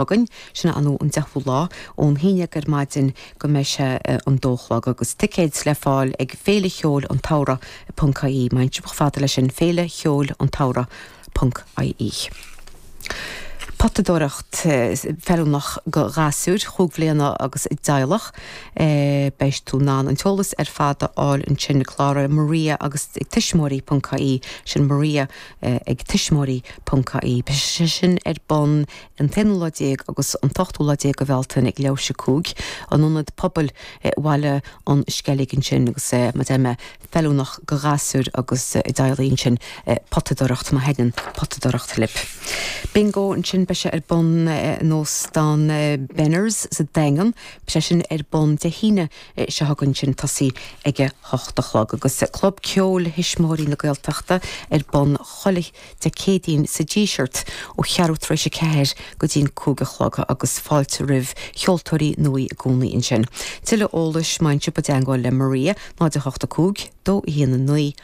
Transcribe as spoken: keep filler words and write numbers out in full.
Againn, sin an an deichiú lá ón haon déag ar maidin go mbeidh sé an dó a chlog agus ticéid le fáil ag Féile Cheoil an tSamhraidh ponc ie. Má théann sibh chomh fada leis sin Féile Cheoil an tSamhraidh ponc ie. Potadóireacht feiliúnach go ghasúir chúig bhliana agus a dteaghlach. Beidh tú in ann an t-eolas ar fad a fháil ansin cláraigh Maria agus ag tuismitheoirí ponc ie sin Maria ag tuismitheoirí ponc ie. Beidh sé sin ar bun an t-aonú lá déag agus an t-ochtú lá déag de Bhealtaine ag leathuair tar éis a cúig in ionad pobail Bhaile an Sceilg ansin agus mar a deir mé feiliúnach go ghasúir agus a dteaghlaigh ansin potadóireacht má thaitníonn potadóireacht libh. Bingo ansin beidh sé ar bun in óstán Benners sa Daingean, beidh sé sin ar bun Dé hAoine seo chugainn sin tosaí ag a hocht a chlog agus Club Ceoil Thuismitheoirí na Gaeltachta ar bun chuile Dé Céadaoin sa Díseart ó cheathrú tar éis a ceathair go dtí'n cúig a chlog agus fáilte roimh cheoltóirí nua i gcónaí ansin. Tuilleadh eolais má tá sibh i dteagmháil le Maria náid a hocht a cúig, dó a haon a naoi,